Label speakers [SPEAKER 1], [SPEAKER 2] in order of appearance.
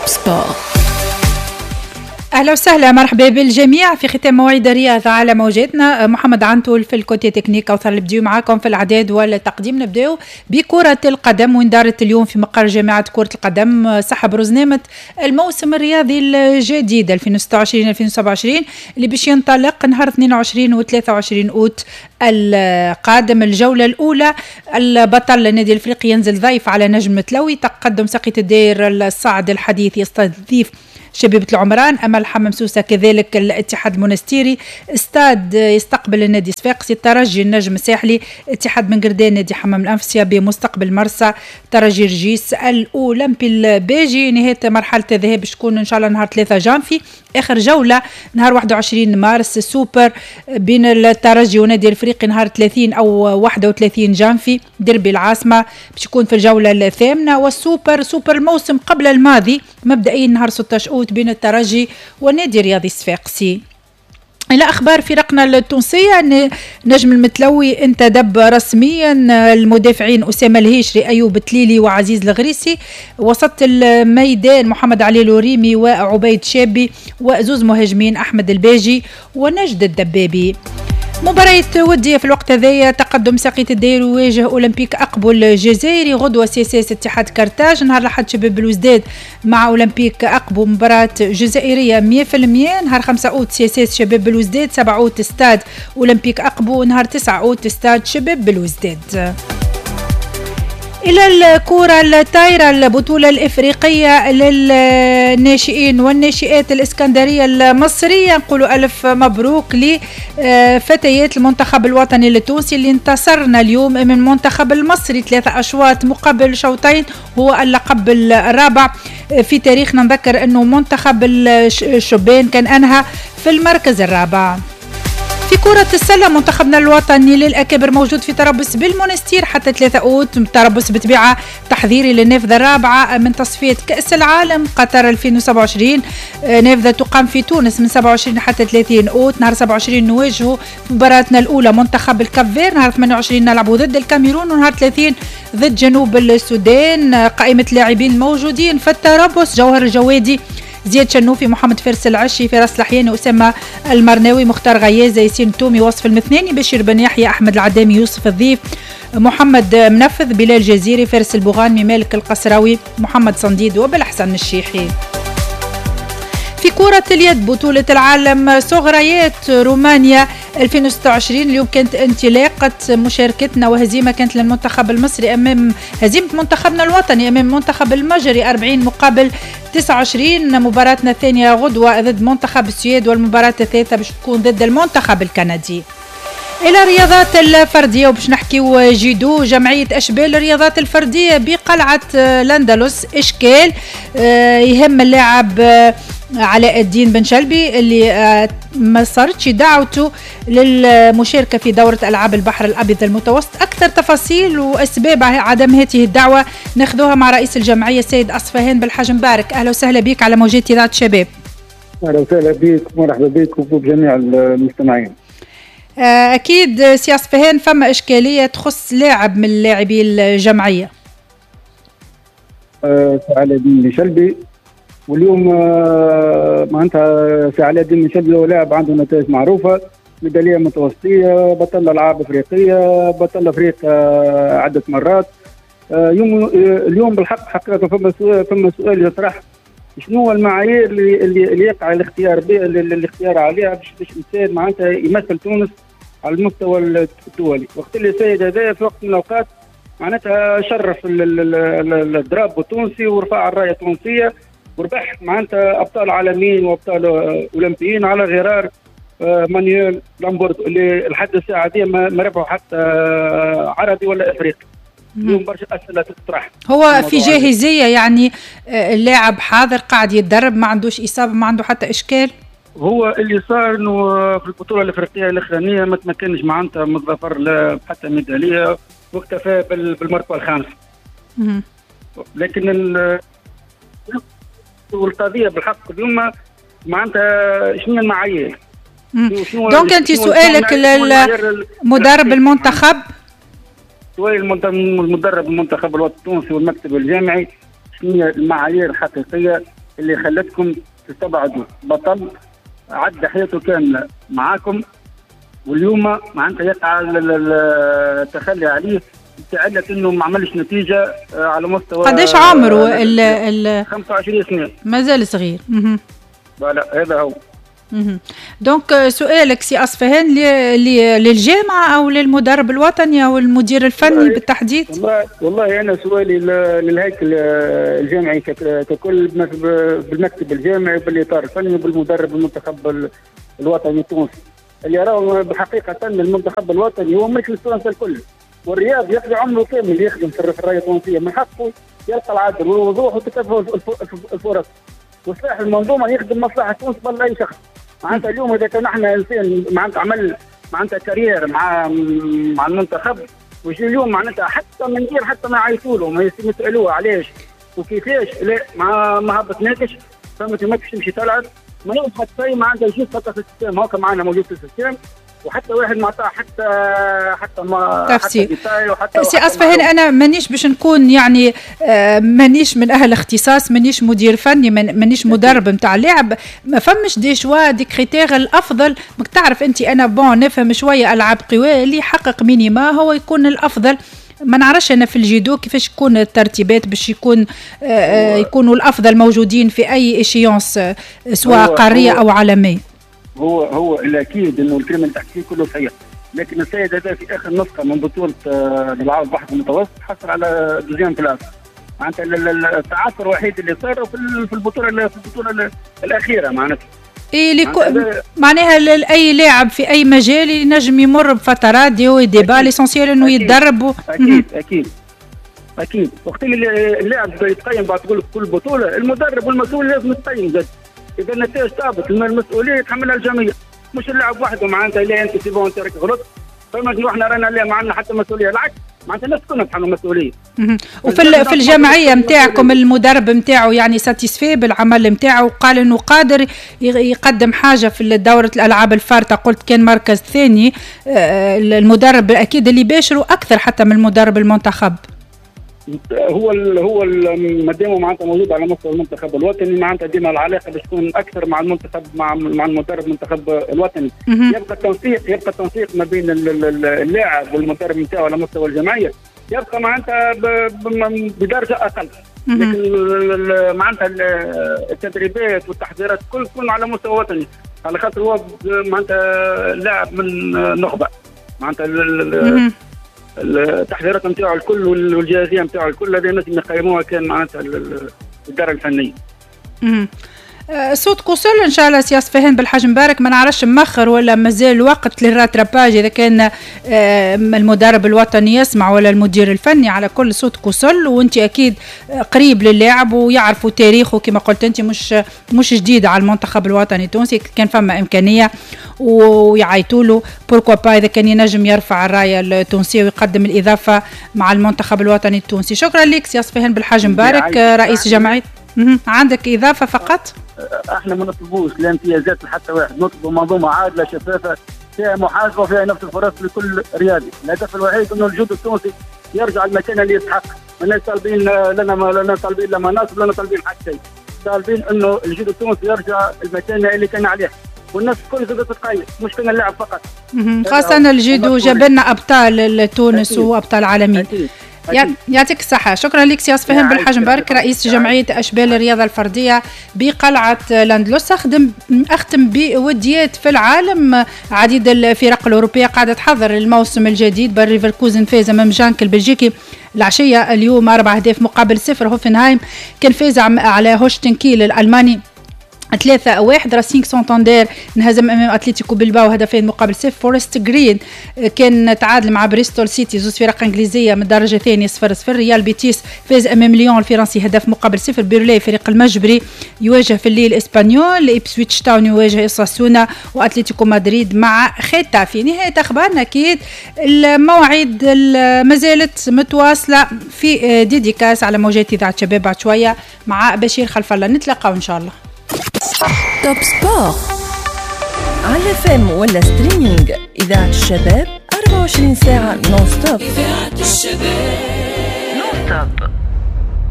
[SPEAKER 1] Top Sport.
[SPEAKER 2] اهلا وسهلا، مرحبا بالجميع في ختام مواعيد الرياضة على موجاتنا. محمد عنتول في ال côté technique، كوثر البديو معاكم في الاعداد والتقديم. نبداو بكره القدم، وين دارت اليوم في مقر جامعه كره القدم سحب رزنامه الموسم الرياضي الجديد 2026 2027 اللي باش ينطلق نهار 22 و 23 اوت القادم. الجولة الاولى، البطل النادي الافريقي ينزل ضيف على نجم متلوي، تقدم ساقية الداير الصاعد الحديث يستضيف شبيبة العمران، أمل حمام سوسة كذلك الاتحاد المونستيري، استاد يستقبل النادي صفاقسي، الترجي النجم الساحلي، اتحاد بن قردان نادي حمام الأنف، CAB مستقبل مرسى، ترجي رجيس، الأولمبي الباجي. نهاية مرحلة الذهاب باش تكون إن شاء الله نهار 3 جانفي، آخر جولة نهار 21 مارس، سوبر بين الترجي ونادي الافريقي نهار 30 أو 31 جانفي، ديربي العاصمة باش يكون في الجولة الثامنة، والسوبر سوبر الموسم قبل الماضي مبدئيا نهار 16 أوت بين الترجي والنادي الرياضي الصفاقسي. إلى أخبار فرقنا التونسية، نجم المتلوي انتدب رسميا المدافعين أسامة الهيشري، أيوب تليلي وعزيز الغريسي، وسط الميدان محمد علي الوريمي وعبيد شابي، وزوز مهاجمين أحمد الباجي ونجد الدبابي. مباراة ودية في الوقت هذايا، تقدم ساقية الداير يواجه أولمبيك أقبو الجزائري، غدوة CSS اتحاد كرتاج، نهار الأحد شباب بلوزداد مع أولمبيك أقبو مباراة جزائرية 100%، نهار 5 أوت CSS شباب بلوزداد، 7 أوت ستاد أولمبيك أقبو، نهار 9 أوت ستاد شباب بلوزداد. إلى الكرة الطايرة، البطولة الإفريقية للناشئين والناشئات الإسكندرية المصرية، نقولوا ألف مبروك لفتيات المنتخب الوطني التونسي اللي انتصرنا اليوم من المنتخب المصري 3 أشواط مقابل شوطين، هو اللقب الرابع في تاريخنا. نذكر أنه منتخب الشبان كان أنهى في المركز الرابع. في كرة السلة، منتخبنا الوطني للأكابر موجود في تربص بالمونستير حتى 3 أوت، تربص بطبيعة تحضيري للنافذة الرابعة من تصفية كأس العالم قطر 2027، نافذة تقام في تونس من 27 حتى 30 أوت. نهار 27 نواجهوا في مباراتنا الأولى منتخب الكاب، نهار 28 نلعبوا ضد الكاميرون، ونهار 30 ضد جنوب السودان. قائمة اللاعبين الموجودين في التربص: جوهر الجوادي، زياد شنوفي، محمد فارس العشي، فراس الحياني، أسامة المرناوي، مختار غيازة، ياسين تومي، وصف المثناني، بشير بن يحيى، أحمد العدامي، يوسف الضيف، محمد منفذ، بلال جزيري، فارس البوغانمي، مالك القصراوي، محمد صنديد وبالحسن الشيحي. في كرة اليد، بطولة العالم صغريات رومانيا 2026، اليوم كانت انطلاقة مشاركتنا وهزيمة كانت للمنتخب المصري أمام هزيمة منتخبنا الوطني أمام المنتخب المجري 40 مقابل 29. مباراتنا الثانية غدوة ضد منتخب السويد، والمباراة الثالثة باش تكون ضد المنتخب الكندي. إلى الرياضات الفردية، وباش نحكيو جيدو. جمعية أشبال الرياضات الفردية بقلعة الأندلس، إشكال يهم اللاعب علاء الدين بن شلبي اللي ما صارتش دعوته للمشاركة في دورة ألعاب البحر الأبيض المتوسط. أكثر تفاصيل وأسباب عدم هذه الدعوة ناخذوها مع رئيس الجمعية السيد أصفهان بالحاج مبارك. أهلا وسهلا بك على موجات إذاعة الشباب.
[SPEAKER 3] أهلا وسهلا بك، مرحبا بك وبجميع المستمعين.
[SPEAKER 2] أكيد سي أصفهان فما إشكالية تخص لاعب من لاعبي الجمعية.
[SPEAKER 3] علاء الدين بن شلبي، واليوم معناتها سي علاء الدين بن شلبي هو لاعب عنده نتائج معروفة، ميدالية متوسطية، بطل ألعاب أفريقية، بطل أفريقيا عدة مرات. اليوم بالحق حقيقة فما سؤال يطرح: شنو هو المعايير اللي يقع الاختيار الاختيار عليها باش انسان معناتها يمثل تونس على المستوى الدولي؟ وقت اللي السيد هذا في وقت من الاوقات معناتها شرف ال drapeau التونسي ورفع الراية التونسية وربح معناتها ابطال عالميين وابطال اولمبيين على غرار مانويل لامبورد اللي لحد الساعة دي ما ربحوا حتى عربي ولا افريقي. اليوم برشا اسئلة تطرح.
[SPEAKER 2] هو في جاهزية يعني، اللاعب حاضر قاعد يتدرب، ما عندوش اصابه، ما عنده حتى اشكال؟
[SPEAKER 3] هو اللي صار انه في البطولة الافريقية الاخرانية ما تمكنش معناتها من الظفر لا حتى ميدالية واكتفى بالمرتبة الخامسة. لكن والقضية بالحق اليوم معناتها شنو المعايير؟
[SPEAKER 2] donc انت سؤالك للمدرب المنتخب؟
[SPEAKER 3] سؤال المدرب المنتخب الوطني التونسي والمكتب الجامعي: شنو هي المعايير الحقيقية؟ اللي خلتكم تستبعدوا بطل عدى حياته كاملة معاكم، واليوم معناتها يقع التخلي عليه تعلت انه ما عملش نتيجة على مستوى.
[SPEAKER 2] قداش عمره؟ ال
[SPEAKER 3] 25 سنة،
[SPEAKER 2] مازال صغير.
[SPEAKER 3] voilà هذا هو.
[SPEAKER 2] donc سؤالك سي اصفهان للجامعة او للمدرب الوطني او المدير الفني بالتحديد؟
[SPEAKER 3] والله انا سؤالي للهيكل الجامعي ككل، بالمكتب الجامعي وبالاطار الفني وبالمدرب المنتخب الوطني التونسي، اللي راهو بحقيقة المنتخب الوطني هو ملك للتوانسه الكل، والرياض يقضي عمره كامل يخدم في الرياضة التونسية، من حقه يلقى العدل والوضوح وتكافؤ الفرص، وصلاح المنظومة يخدم مصلحة تونس قبل اي شخص. معناتها اليوم اذا كان احنا انسان معناتها عمل معناتها carrière مع المنتخب، ويجي اليوم معناتها حتى من غير حتى ما يعيطوا له، ما يسالوه علاش وكيفاش، لا ما هبطناكش، فهمت، ماكش تمشي تلعب، ما يوم حتى شيء، معناتها يجي فقط في ال système، هاكا معنا موجود في ال système، وحتى واحد ما عطاه حتى ما
[SPEAKER 2] تفسير. سي اصفهان انا مانيش باش نكون يعني مانيش من اهل اختصاص، مانيش مدير فني، مانيش مدرب نتاع لاعب، ما فمش des choix des critères الافضل. ماك تعرف انت انا bon نفهم شوية العاب قوى، اللي يحقق minima هو يكون الافضل. ما نعرفش انا في الجيدو كيفاش تكون الترتيبات باش يكون يكونوا الافضل موجودين في اي échéance سواء قارية او عالمية.
[SPEAKER 3] هو الاكيد انه الكلام اللي تحكيه كله صحيح، لكن السيد هذا في اخر نسخه من بطوله العاب البحر المتوسط حصل على deuxième place، معناتها التعثر الوحيد اللي صار في البطولة الاخيرة معناتها.
[SPEAKER 2] إيه معناها اي لاعب في اي مجال ينجم يمر بفترات des hauts des bas، l'essentiel انه يتدرب.
[SPEAKER 3] اكيد اكيد اكيد، وقت اللي اللاعب يتقيم بعد كل بطوله، المدرب والمسؤول لازم يتقيم زاد. اذا النتائج تهبط المسؤولية يتحملها الجميع، مش اللاعب وحده. معناتها لا انت c'est bon انت راك غلط، فما احنا رانا لا ما عندنا حتى مسؤولية، العكس معناتها الناس كلنا نتحملوا مسؤولية.
[SPEAKER 2] وفي في الجمعية نتاعكم المدرب نتاعو يعني satisfait بالعمل نتاعو، وقال انه قادر يقدم حاجة في دوره الالعاب الفارطه، قلت كان مركز ثاني، المدرب اكيد اللي باشروا اكثر حتى من المدرب المنتخب.
[SPEAKER 3] هو مادام معناتها موجود على مستوى المنتخب الوطني، معناتها ديما العلاقة باش تكون اكثر مع المنتخب مع المدرب المنتخب الوطني. يبقى التنسيق ما بين اللاعب والمدرب نتاعو على مستوى الجمعية، يبقى معناتها بدرجة اقل، لكن معناتها التدريبات والتحضيرات كل تكون على مستوى وطني، على خاطر هو معناتها لاعب من نخبة، معناتها التحضيرات نتاعو الكل والجاهزيه نتاعو الكل هذه الناس اللي يقيموها كان معناتها الادارة الفنية.
[SPEAKER 2] صوت وصل ان شاء الله سي اصفهان بالحاج مبارك، ما نعرفش مخر ولا مازال وقت لل rattrapage اذا كان المدرب الوطني يسمع ولا المدير الفني. على كل صوت وصل، وانت اكيد قريب للاعب ويعرفوا تاريخه كما قلت انت، مش جديد على المنتخب الوطني التونسي، كان فما امكانية ويعيطوا له pourquoi pas اذا كان ينجم يرفع الراية التونسية ويقدم الاضافة مع المنتخب الوطني التونسي. شكرا لك سي اصفهان بالحاج مبارك رئيس جمعية. عندك اضافه فقط؟
[SPEAKER 3] احنا ما نطلبوش لا امتيازات لحتى واحد، نطلبوا منظومة عادلة شفافة فيها محاسبه وفيها نفس الفرص لكل رياضي. الهدف الوحيد انه الجودو التونسي يرجع المكان اللي يستحق. ماناش طالبين لنا طالبين لا مناصب لا طالبين حتى شيء، طالبين انه الجودو التونسي يرجع المكان اللي كان عليه، والناس الكل زادت تتقيم، مش كان اللاعب فقط.
[SPEAKER 2] خاصة الجودو جاب لنا ابطال تونس وابطال عالميين. يعطيك الصحة، شكرا لك سي اصفهان بالحاج مبارك رئيس جمعية أشبال الرياضة الفردية بقلعة لاندلس. أختم بوديات في العالم، عديد الفرق الأوروبية قاعدة تحضر الموسم الجديد. باير ليفركوزن فاز أمام جانك البلجيكي العشية اليوم 4 أهداف مقابل 0. هوفنهايم كان فاز على هوشتن كيل الألماني 3-1. راسينغ سانتاندير انهزم امام اتلتيكو بلباو 2 مقابل 0. فورست جرين كان تعادل مع بريستول سيتي، زوز فرق انجليزية من الدرجة الثانية، 0-0. ريال بيتيس فاز امام ليون الفرنسي 1 مقابل 0. بيرلي فريق المجبري يواجه في الليل اسبانيول، إبسويتش تاون يواجه اوساسونا، واتلتيكو مدريد مع ختافي. نهاية اخبارنا، اكيد المواعيد ما زالت متواصلة في dédicace على موجات اذاعة شباب بعد شوية مع بشير خلف الله. نتلاقاو ان شاء الله.
[SPEAKER 1] Top Sport على FM ولا streaming، إذاعة الشباب 24 ساعة non-stop.
[SPEAKER 4] إذاعة الشباب
[SPEAKER 1] non-stop.